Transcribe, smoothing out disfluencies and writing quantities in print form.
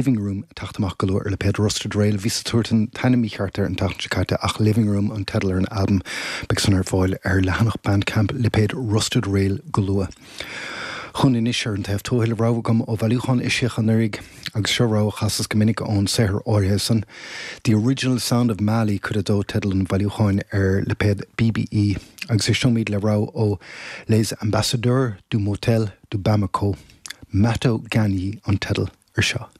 Living Room ag teacht amach go luath ar lipéad Rusted Rail. Bhíos ag tabhairt an t-ainm mícheart air an tseachtain seo caite ach Living Room an teideal ar an albam. Beidh san ar fáil ar leathanach Bandcamp lipéad Rusted Rail go luath. Chugainn anois ar an taobh tuathail rogha agam ó bhailiúchán eisiach anuraidh agus seo rogha a chasas go minic ón saothar áirithe san. The Original Sound of Mali, cuid a dó, teideal an bhailiúcháin ar lipéad BBE agus éisteoimid le rogha ó Les Ambassadeurs du Motel de Bamako. Mato Ganyi an teideal ar seo.